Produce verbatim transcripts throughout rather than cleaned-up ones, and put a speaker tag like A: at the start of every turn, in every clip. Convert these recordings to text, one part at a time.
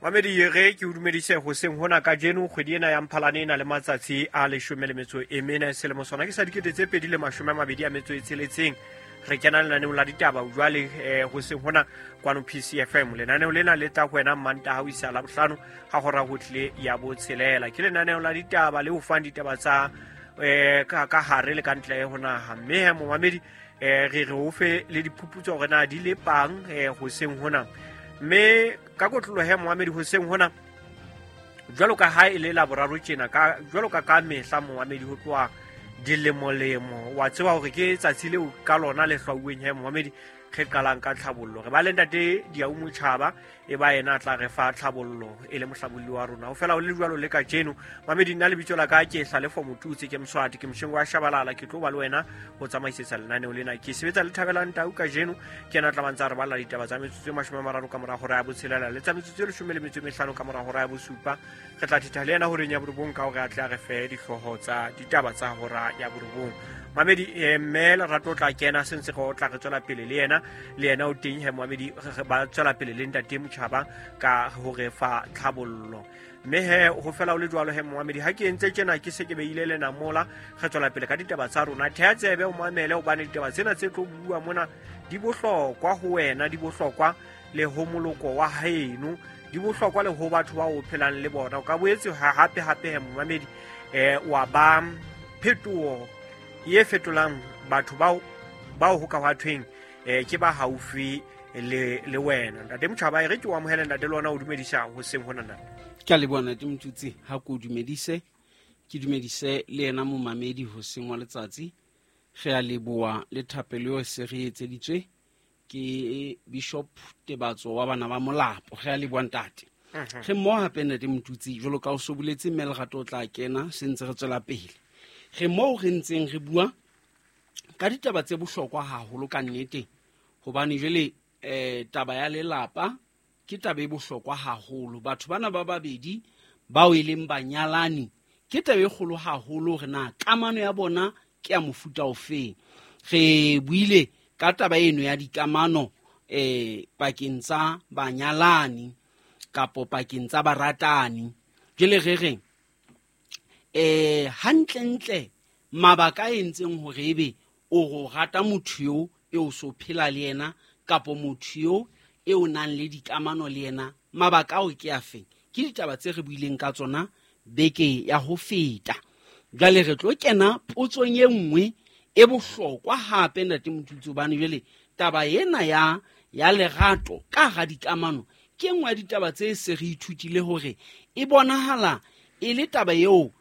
A: Mamedi re ke o dumedise hoseng hona kajeno kgwedi ena ya Mphalane e na le matsatsi a leshome le metso e mene selemo sona ke sa dikete tse pedi le mashome a mabedi a metso e tsheletseng. Re kena lenaneong la ditaba jwale eh, hoseng hona kwano P C F M. Lenaneo lena le tla ho wena Mantaha ho isa Labohlano ha hora ho tlile ya botshelela. Ke lenaneo la ditaba le ho fang ditaba tsa eh, ka, ka hare le ka ntle ho naha. Mme he momamedi eh, re re o fe le diphuputso hore na di le pang eh, hoseng hona. Mme ka kotloloho he momamedi hoseng hona jwalo ka ha e le Laboraro tjena, ka jwalo ka ka mehla momamedi ho tloha dilemolemo wa tseba hore ke tsatsi leo ka lona le hlwauweng he momamedi re qalang ka tlhabollo. Re ba le ntate Diau Motjhaba e ba yena a tla re fa tlhabollo e le mohlabolli wa rona. Ho fela ho le jwalo le kajeno mamedi, nna lebitso la ka ke Hlalefo Motutsi, ke Mswati, ke Moshengo wa Shabalala, ke tlo ba le wena ho tsamaisetsa lenaneo lena. Ke sebetsa le Thabelang Tau kajeno, ke yena a tla bantsa re balla ditaba tsa metsotso e mashome a mararo ka mora hora ya botshelela le tsa metsotso e leshome le metso e mehlano ka mora hora ya bosupa. Re tla thetha le yena horeng ya borobong ka hore a tle a re fe dihlooho tsa ditaba tsa hora ya borobong. Mamedi eh, mme Lerato o tla kena se ntse re tla re tswela pele le yena, le yena o teng he momamedi, re ba tswela pele le ntate Motjhaba ka ho re fa tlhabollo. Mme he ho fela ho le jwalo he momamedi, ha ke entse tjena ke se ke beile le namola, re tswela pele ka ditaba tsa rona. Theha tsebe o mamele hobane ditaba tsena tse tlo bua mona di bohlokwa ho wena, di bohlokwa le ho moloko wa haeno, di bohlokwa le ho batho ba o phelang le bona. O ka boetse ha hape hape he momamedi eh, wa ba phetoho e fetolang batho bao, bao ho ka hwa thweng eh, ke ba haufi le, le wena. Ntate Motjhaba, e re ke o amohele ntate le wena o dumedisa hoseng hona ntate.
B: Ke a leboha ntate Motutsi, ha ke o dumedise, ke dumedise le yena momamedi hoseng wa letsatsi. Re a leboha le thapelo eo se re etseditswe ke Bishop Tebatso wa bana ba Molapo. Re a leboha ntate.
A: Mhm.
B: Re mmoho hape ntate Motutsi, jwalo ka o so boletse mme Lerato o tla kena se ntse re tswela pele. Re moo re ntseng re bua ka ditaba tse bohlokwa haholo ka nnete, hobane jwale eh, taba ya lelapa ke taba e bohlokwa haholo. Batho bana ba babedi bao e leng banyalani ke taba e kgolo haholo hore na kamano ya bona ke ya mofuta ofeng. Re buile ka taba eno ya dikamano eh, pakeng tsa banyalani kapo pakeng tsa baratani. Jwale re reng eh, hantlentle mabaka a entseng hore ebe o go rata motho eo e o so phela le yena kapo motho eo e o nang le dikamano le yena, mabaka ao ke a feng? Ke ditaba tse re buileng ka tsona beke ya ho feta. Jwale re tlo kena potsong e nngwe e bohlokwa hape ntate Motutsi, hobane jwale taba ena ya, ya lerato ka hara dikamano ke e nngwe ya ditaba tse se re ithutile hore e bonahala e le taba eo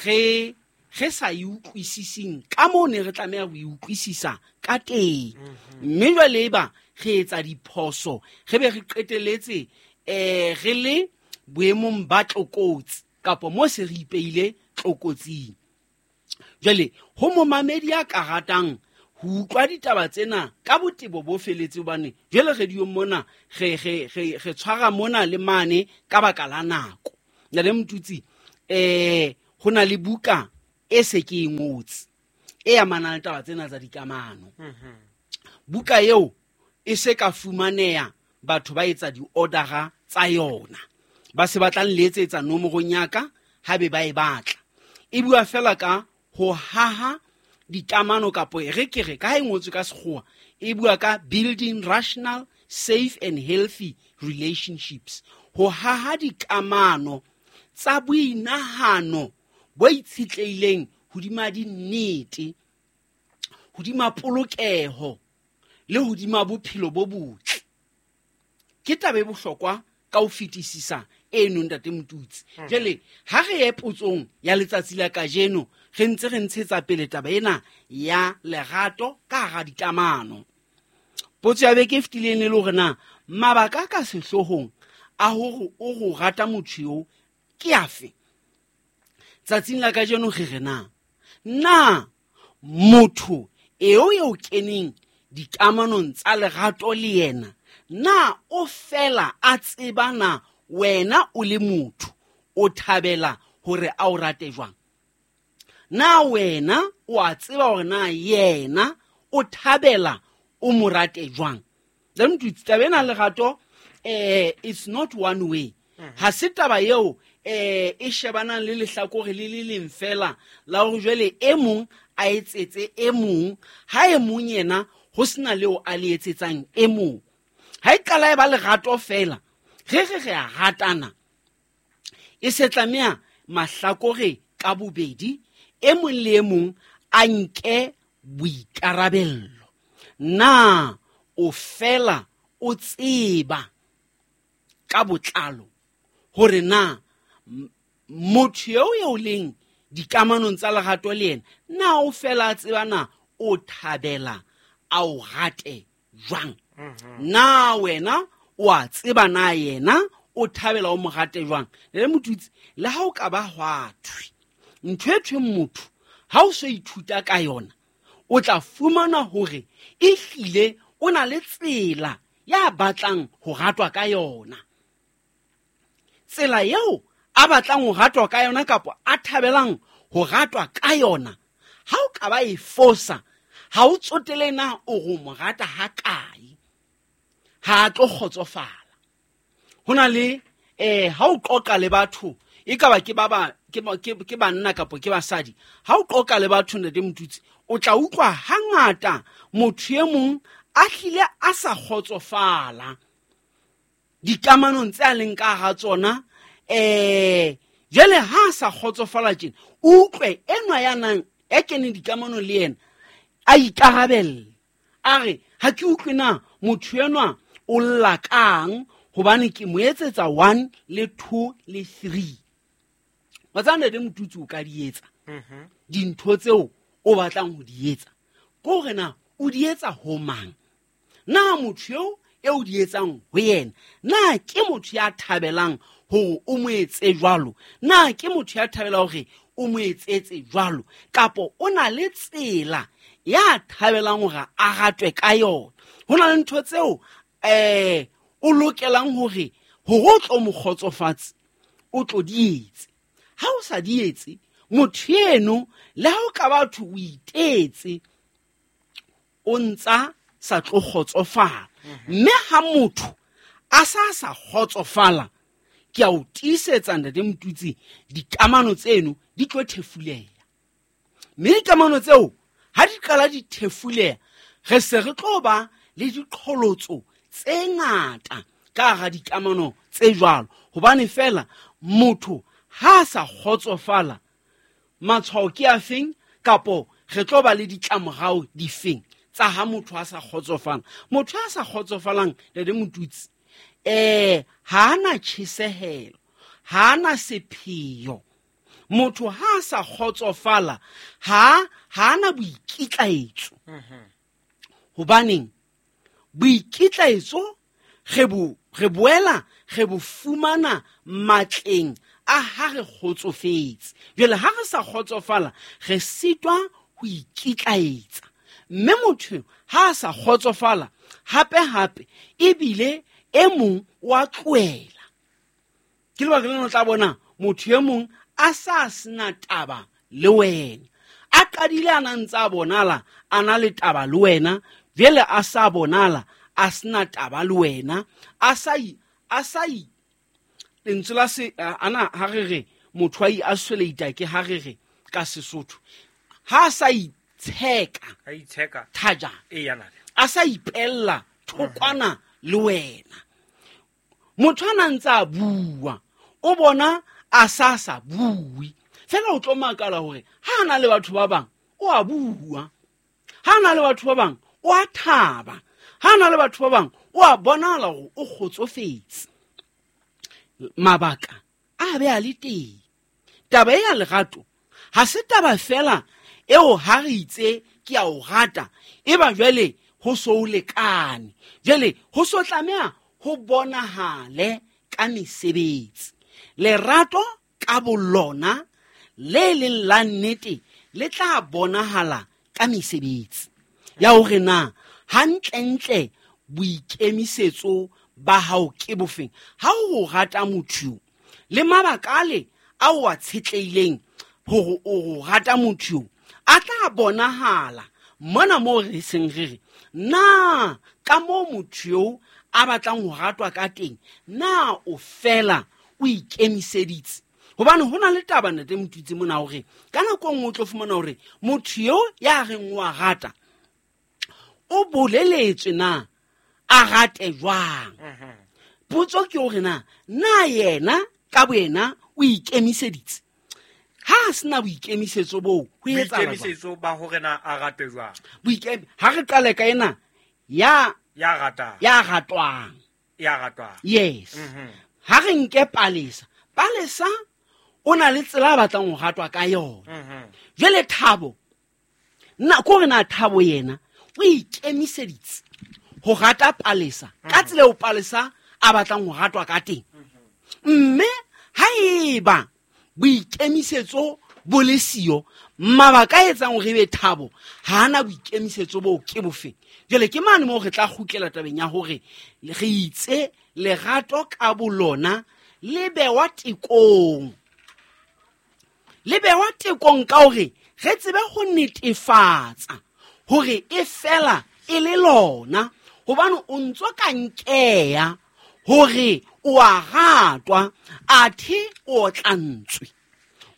B: re, re sa e utlwisising ka moo ne re tlameha ho e utlwisisa ka teng.
A: Mhm.
B: Mme jwale eba re etsa diphoso, re be re qeteletse, eh, re le boemong ba tlokotsi kapo mo se re ipeile tlokotsing. Jwale ho momamedi ya ka ratang ho utlwa ditaba tsena ka botebo bo feletse, hobane jwale radiong mona re, re, re, re tshwara mona le mane ka baka la nako. Ntate Motutsi, eh, ho na le buka e se ke e ngotse e amanang le taba tsena tsa dikamano.
A: Mhm.
B: Buka eo e se ka fumaneha, batho ba etsa di-order-a tsa yona, ba se ba tla nletsetsa nomorong ya ka ha be ba e batla. E bua fela ka ho haha dikamano, kapo e re ke re ka ha e ngotswe ka sekgowa, e bua ka building rational, safe and healthy relationships. Ho haha dikamano tsa boinahano bo itshetlehileng hodima dinnete, hodima polokeho le hodima bophelo bo botle. Ke taba e bohlokwa ka ho fetisisa eno ntate Motutsi.
A: Mhm.
B: Jwale ha re ye potsong ya letsatsi la kajeno, re ntse re ntshetsa pele taba ena ya lerato ka hara dikamano. Potso ya beke e fetileng e le hore na mabaka a ka sehloohong a hore o go rata motho eo ke afe? Tsatsing la kajeno re re na, na motho eo eo keneng dikamanong tsa lerato le yena, na o fela a tseba na wena o le motho o thabela hore a o rate jwang? Na wena o a tseba hore na yena o thabela o mo rate jwang? Then taba ena lerato, eh, it's not one way. Ha se taba eo eh e shebanang le lehlakore le le leng fela la hore jwale e mong a etsetse e mong, ha e mong yena ho sena leo a le etsetsang e mong. Ha e qala e ba lerato fela, re re re a ratana, e se tlameha mahlakore ka bobedi e mong le e mong a nke boikarabello. Na o fela o tseba ka botlalo hore na motho eo eo leng dikamanong tsa lerato le yena, na o fela a tseba na o thabela a o rate jwang? Na wena o a tseba na yena o thabela o mo rate jwang? Le motutsi, le ha o ka ba hwa thwe ntho e thweng motho ha o so ithuta ka yona, o tla fumana hore ehlile o na le tsela ya batlang ho ratwa ka yona. Tsela eo a batlang ho ratwa ka yona kapa a thabelang ho ratwa ka yona, ha o ka ba e fosa, ha o tsotele na o go mo rata ha kae, ha a tlo kgotsofala. Ho na le eh ha o qoqa le batho, e ka ba ke ba ba ke ke banna kapa ke basadi, ha o qoqa le batho ntate Motutsi, o tla utlwa hangata motho e mong a hlile a sa kgotsofala dikamanong tse a leng ka hara tsona. Eh jwale ha a sa kgotsofala tjena, o utlwe enwa ya nang e keneng dikamanong le yena a ikarabella, a re ha ke utlwe na motho enwa o lla kang, hobane ke mo etsetsa one le two le three. Wa tseba ntate Motutsi, o ka di etsa dintho tseo o batlang ho di etsa, ke hore na o di etsa ho mang? Na motho eo e o di etsang ho yena, na ke motho ya thabelang hore o mo etse jwalo? Na ke motho ya thabelang hore o mo etsetse jwalo? Kapa o na le tsela ya thabelang hore a ratwe ka yona? Ho na le ntho tseo eh o lokelang hore hore o tlo mo kgotsofatse, o tlo di etse. Ha o sa di etse, motho eno le ha o ka batho o itetse, o ntsa sa tlo kgotsofala. Mme ha motho a sa sa kgotsofala, ke a o tiisetsa ntate Motutsi, dikamano tseno di tlo thefuleha. Mme dikamano tseo ha di qala di thefuleha, re se re tlo ba le diqholotso tse ngata ka hara dikamano tse jwalo. Hobane fela motho ha a sa kgotsofala, matshwao ke a feng, kapo re tlo ba le ditlamorao difeng tsa ha motho a sa kgotsofala? Motho a sa kgotsofalang ntate Motutsi, eh ha ana tjhesehelo, ha ana sepheo. Motho ha a sa kgotsofala, ha ha ana boikitlaetso. Hobaneng boikitlaetso re bo re boela re bo fumana matleng a ha re kgotsofetse. Jwale ha re sa kgotsofala, re sitwa ho ikitlaetsa. Mme motho ha a sa kgotsofala, hape hape ebile e mong wa tlohela. Ke lebaka lena o tla bona motho e mong a sa sena taba le wena, a qadile a na ntse a bonala a na le taba le wena, jwale a sa bonala a sena taba le wena, a sa a sa lentswe la se ana ha re re motho a isolate ke ha re re ka Sesotho, ha a sa itsheka,
A: a itsheka
B: thajana,
A: e yana
B: a sa ipella thokwana le wena. Motho a na ntse a bua, o bona a sa sa bue fela, o tlo makala hore ha ana le batho ba bang o a bua, ha ana le batho ba bang o a thaba, ha ana le batho ba bang o a bonala hore o kgotsofetse. Mabaka a be a le teng. Taba ya lerato ha se taba fela eo ha re itse ke a o rata, e ba jwale ho so o lekane, jwale ho so tlameha ho bonahale ka mesebetsi. Lerato ka bolona le leng la nnete le tla bonahala ka mesebetsi ya hore na hantlentle boikemisetso ba hao ke bofeng. Ha o rata motho le mabaka ale a o a tshetlehileng hore o rata motho, a tla bonahala mona moo re seng re re na ka moo motho eo a batlang ho ratwa ka teng, na o fela o ikemiseditse? Hobane ho na le taba ntate Motutsi mona hore ka nako e nngwe o tlo fumana hore motho eo ya reng o a rata o boleletswe na a rate jwang. Potso ke hore na na yena ka boyena o ikemiseditse? Ha a sena boikemisetso boo, ho etsahala jwang?
A: Boikemisetso ba hore na a rate jwang?
B: Boikem-, ha re qale ka ena ya
A: Ya ratang.
B: Ya ratwang.
A: Ya ratwang.
B: Yes.
A: Mhm.
B: Ha re nke Palesa. Palesa o na le tsela a batlang ho ratwa ka yona.
A: Mhm.
B: Jwale Thabo, nna ko re na Thabo yena o ikemiseditse ho rata Palesa ka
A: Mhm.
B: tsela eo Palesa a batlang ho ratwa ka teng. Mme haeba boikemisetso bo le siyo, mabaka a etsang hore ebe Thabo ha ana boikemisetso boo ke bofeng? Jwale ke mane moo re tla kgutlela tabeng ya hore re itse lerato ka bolona le bewa tekong. Le bewa tekong ka hore re tsebe ho netefatsa hore e fela e le lona, hobane o ntso ka nkeya hore o a ratwa athe o otlantswe.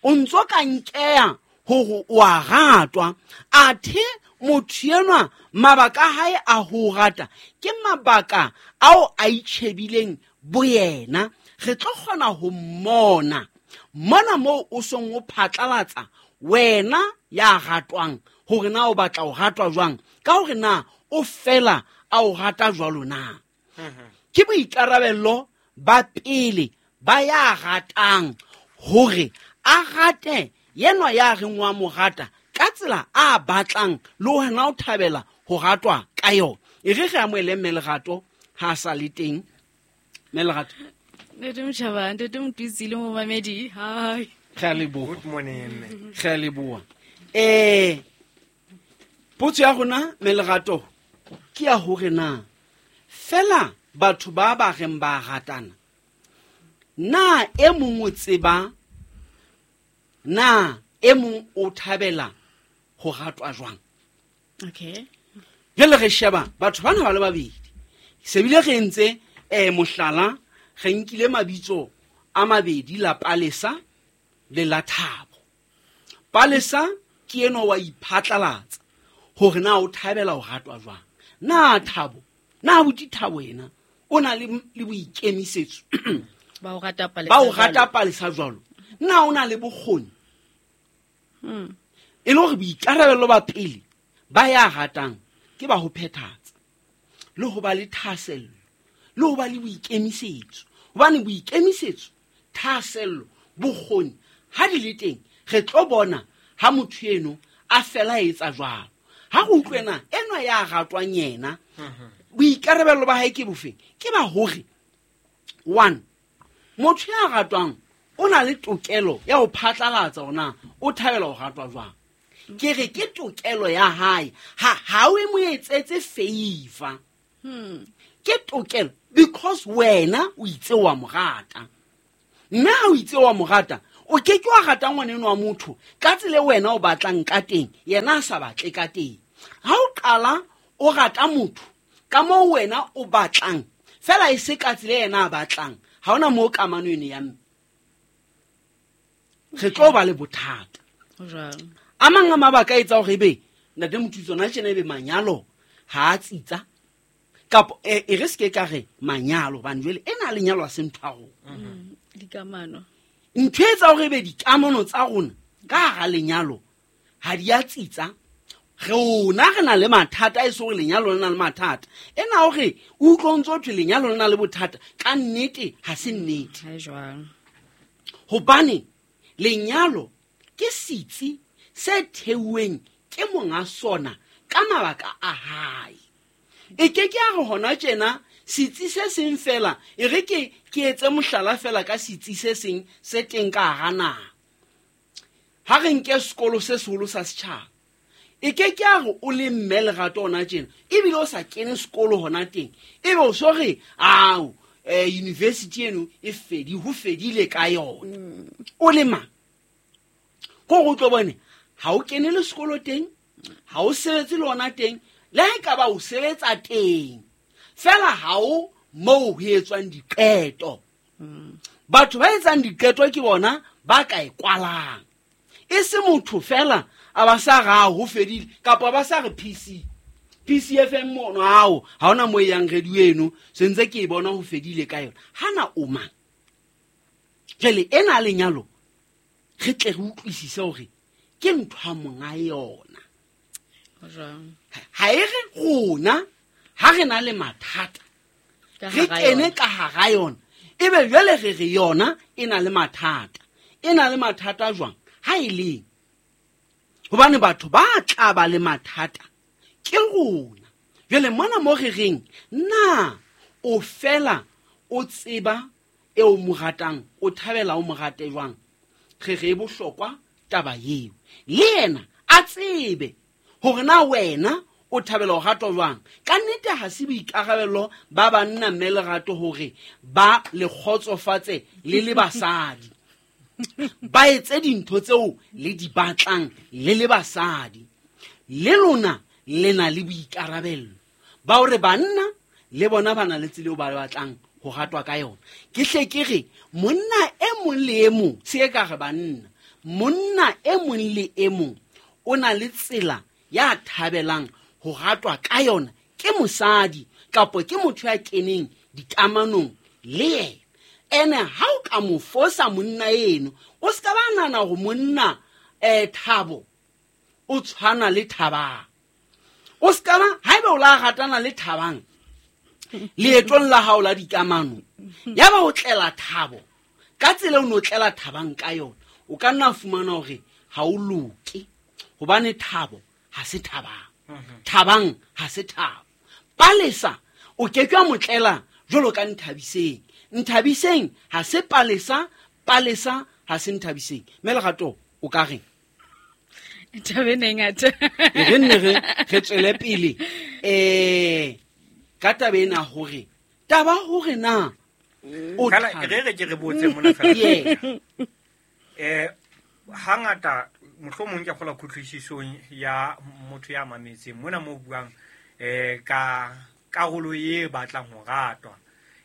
B: O ntso ka nkeya hore o a ratwa athe motho enwa mabaka a hae a ho rata ke mabaka ao a itjhebileng boyena. Re tlo kgona ho mmona mona moo o song o phatlalatsa wena ya ratwang hore na o batla ho ratwa jwang, ka hore na o fela a o rata jwalo na.
A: Mhm.
B: Ke boikarabello ba pele ba ya ratang hore a rate yenwa ya reng wa mo rata ka tsela a batlang le hona o thabela ho ratwa ka yona. E re re amohele mme Lerato ha a sa le teng. Mme Lerato.
C: Ntate Motjhaba, ntate Motutsi le momamedi, hi.
B: Re a leboha.
A: Good morning, mme.
B: Re a leboha. Eh, potso ya rona, mme Lerato, ke ya hore na fela batho ba ba reng ba ratana, na e mong o tseba, na e mong o thabela ho ratwa jwang?
C: Okay.
B: Jwale re sheba batho bana ba le babedi. Se bile re entse, eh, mohlala, re nkile mabitso a mabedi, la Palesa le la Thabo. Palesa ke enwa wa iphatlalatsa hore na o thabela ho ratwa jwang. Na Thabo, na abuti Thabo yena o na le, le boikemisetso
C: Ba o rata Palesa
B: ba o rata
C: jwalo.
B: Palesa jwalo? Na o na le bokgoni?
C: Hmm.
B: E le hore boikarabello ba pele ba ya ratang ke ba ho phethatsa le ho ba le thahasello le ho ba le boikemisetso. Hobane boikemisetso, thahasello, bokgoni ha di le teng, re tlo bona ha motho eno a fela a etsa jwalo. Ha re utlwe na enwa ya ratwang yena,
A: Mhm.
B: boikarabello ba hae ke bofeng? Ke ba hore one, motho ya ratwang o na le tokelo ya ho phatlalatsa hore na o thabela ho ratwa jwang. Ke re ke tokelo ya hae, ha, ha o mo etsetse favor.
C: Hmm.
B: Ke tokelo because wena o itse wa mo rata. Mme ha o itse wa mo rata, o ke ke wa rata ngwaneno wa motho ka tsela e wena o batlang ka teng, yena a sa batle ka teng. Ha o qala o rata motho ka moo wena o batlang, fela e se ka tsela e yena a batlang, ha hona moo kamano eno ya mme. Re tlo ba le bothata.
C: Ho jwalo.
B: A mang a mabaka a etsa hore ebe ntate Motutsi ona tjena ebe manyalo ha a tsitsa, kapa e, e re se ke ka re manyalo, hobane jwale ena lenyalo ha se ntho ya rona.
C: Mm, dikamano.
B: Ntho e etsa hore ebe dikamano tsa rona ka hara lenyalo ha di a tsitsa. Rona re na le mathata, e se hore lenyalo le na le mathata. Ena hore o utlwe o ntso thwe lenyalo le na le bothata, ka nnete ha se nnete.
C: Ha e jwalo.
B: Hobane lenyalo ke setsi se theuweng ke monga sona ka mabaka a hae. E ke ke a re hona tjena setsi se seng fela, e re ke, ke etse mohlala fela ka setsi se seng se teng ka hara naha. Ha re nke sekolo se seholo sa setjhaba, e ke ke a re o le mme Lerato hona tjena, ebile o sa kene sekolo hona teng, ebe o so re, ao, eh, university eno e fedi, ho fedile ka yona.
C: Mm.
B: O le mang? Ko re o tlo bone, ha o kene le sekolo teng, ha o sebetse le hona teng, le ha e ka ba o sebetsa teng, fela ha o moo ho etswang diqeto.
C: Mm.
B: Batho ba etsang diqeto ke bona ba ka e kwalang. E se motho fela a ba sa ra ho fedile kapa ba sa re P C P C F M mono hao ha hona mo yang radio eno se ntse ke e bona ho fedile ka yona. Hana o mang? Jwale ena lenyalo re tle re utlwisise hore ke ntho ya monga yona. Ha e re rona ha re na le mathata re kene ka hara yona, ebe jwale re re yona e na le mathata. E na le mathata jwang? Ha e leng hobane batho ba tla ba le mathata ke rona. Jwale mona mo re reng na o fela o tseba eo mo ratang, o thabela o mo rate jwang? Re re bohlokwa taba eo. Le yena a tsebe hore na wena o thabela o ratwa jwang. Ka nnete ha se boikarabelo ba banna mme lerato hore ba le kgotsofatse le le basadi. Ba etse dintho tseo le di batlang le le basadi. Le lona le na le boikarabelo ba hore banna le bona ba na le tsela eo ba batlang ho ratwa ka yona. Ke hle ke re monna e mong le e mong, se ka re banna, monna e mong le e mong o na le tsela ya thabelang ho ratwa ka yona ke mosadi kapa ke motho ya keneng dikamanong le yena. Ene ha o ka mo fosa monna eno, o ska ba nana hore monna eh Thabo o tshwana le Thabang. O ska ba haeba o la ratana le Thabang leetong la hao la dikamano, ya ba o tlela Thabo ka tsela o no tlela Thabang ka yona, o ka nna fumana hore ha o loke, hobane Thabo ha se Thabang, Thabang ha se Thabo. Palesa o ke ke wa motlela jwalo ka Nthabiseng, Nthabiseng ha se Palesa, Palesa ha se Nthabiseng. Mme Lerato o ka reng?
C: Taba ena e ngata.
B: Re nne re re tswele pele eh ka taba ena hore taba hore na o
A: re re ke re botse mona fela. Eh hangata mohlomong ke kgola kutlwisisong ya motho ya mametseng mona mo buang eh ka karolo e batlang ho ratwa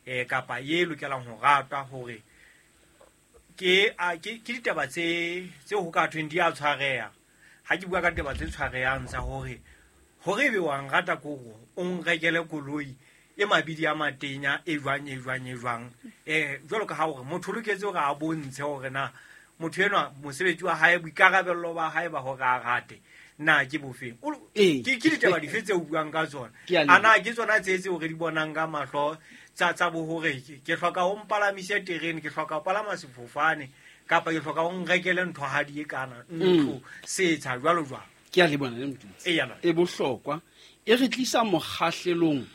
A: eh kapa e lokelang ho ratwa hore ke ke ke ditaba tse tse ho ka thweng di a tshwareha. Ha ke bua ka ditaba tse tshwarehang tsa hore hore ebe wa nrata koro o nrekele koloi e mabidi a matenya e jwang e jwang e jwang eh jwalo ka ha hore motho o loketse hore a bontshe hore na motho enwa mosebetsi wa hae boikarabello ba hae ba hore a rate na ke bofeng. Ke ke ditaba dife tse o buang ka tsona? Ana ke tsona tse tse hore di bonang ka mahlo tsa tsa bo hore ke hloka ho mpalamise terene, ke hloka ho palama sefofane kapa ke hloka ho nrekele ntho ha di e kana ntho setsha jwalo jwalo.
B: Ke a le bona le Motutsi. E bohlokwa e re tlisa mokgahlelong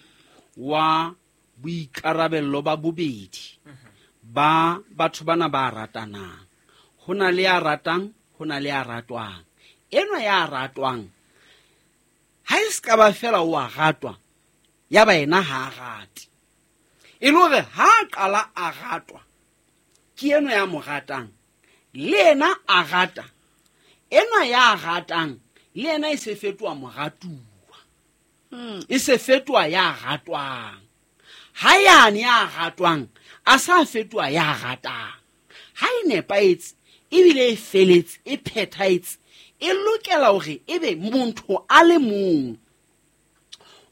B: wa boikarabello ba bobedi ba batho bana ba ratanang. Ho na le ya ratang, ho na le ya ratwang. Enwa ya ratwang ha e ska ba fela o a ratwa, ya ba yena ha a rate. E le hore ha a qala a ratwa ke enwa ya mo ratang, le yena a rata. Enwa ya ratang le yena e se fetoha moratuwa, e se fetoha ya ratwang. Ha yane ya ratwang a sa fetoha ya ratang. Ha e nepahetse ebile e feletse e phethahetse, e lokela hore ebe motho a le mong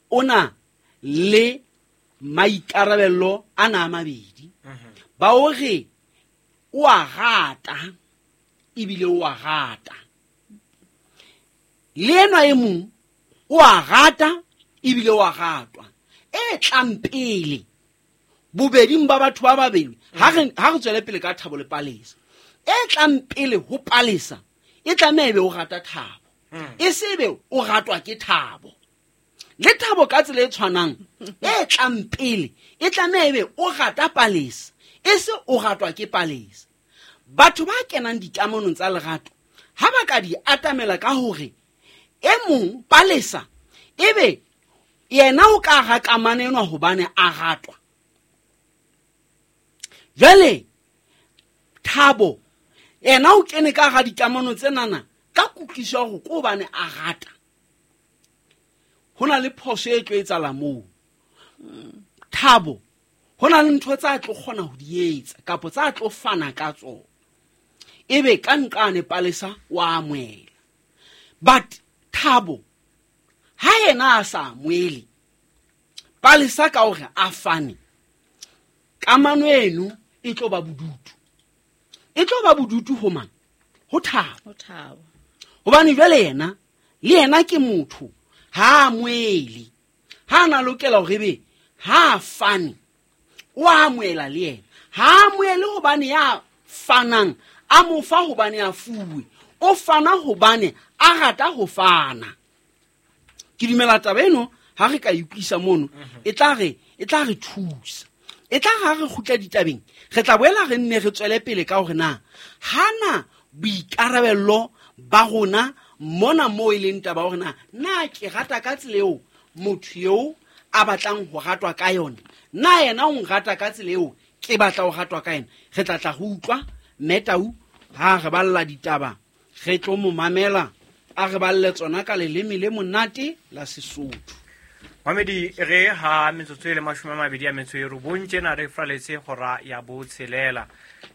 B: o na le maikarabelo a na a mabedi ba hore o a rata ebile o a rata. Le enwa e mong o a rata ebile o a ratwa. E tlang pele bobeding ba batho ba babedi, ha re ha re tswele pele ka Thabo le Palesa, e tlang pele ho Palesa e tlameha ebe o rata Thabo, e se ebe o ratwa ke Thabo. Le Thabo ka tsela e tshwanang e tlang pele e tlameha ebe o rata Palesa, e se o ratwa ke Palesa. Batho ba kenang dikamanong tsa lerato ha ba ka di atamela ka hore e mong Palesa ebe yena o ka ra kamano enwa hobane a ratwa. Jwale Thabo yena o kene ka ga dikamano tsenana ka kutlwiso ya hore ke hobane a rata. Ho na le phoso e tlo etsahala moo. Thabo Ho na le ntho tsa tlo kgona ho di etsa kapa tsa tlo fana ka tsona. Ebe ka nqane Palesa wa amohela. But Thabo ha yena a sa amohele, Palesa ka hore a fane, kamano eno e tlo ba bodutu. E tlo ba bodutu ho mang? Ho Thabo.
C: Ho Thabo.
B: Hobane jwale yena, le yena ke motho, ha amohele. Ha na lokela hore ebe ha fane, o amohela le yena. Ha amohele hobane ya fanang, a mo fa hobane a fuwe. O fana hobane a rata ho fana. Ke dumela taba eno ha re ka utlwisa mono, e tla re, e tla re thusa. E tla ha re kgutla ditabeng, re tla boela re nne re tswele pele ka hore na hana boikarabello ba rona mona moo e leng taba hore na na ke rata ka tsela eo motho eo a batlang ho ratwa ka yona, na yena o nrata ka tsela eo ke batla ho ratwa ka yena. Re tla tla ho utlwa Mmetau ha re balla ditaba, re tlo mo mamela a re balle tsona ka leleme le monate la Sesotho.
A: Mamedi, re ha metsotso e le mashome a mabedi a metso e robong tjena re fraletse hora ya botshelela.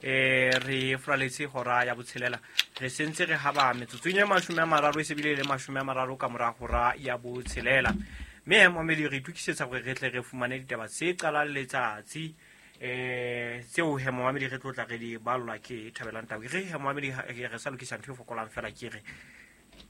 A: Eh, re fraletse hora ya botshelela. Re sentse re haba metsotso e mashome a mararo e se bile le mashome a mararo ka mora hora ya botshelela. Mme mamedi re itokisetsa hore re tle re fumane ditaba tse qalang letsatsi. Eh, tseo he mamedi re tlo tla re di ballwa ke Thabelang Tau. Re he mamedi re sa lokisa ntho e fokolang fela ke re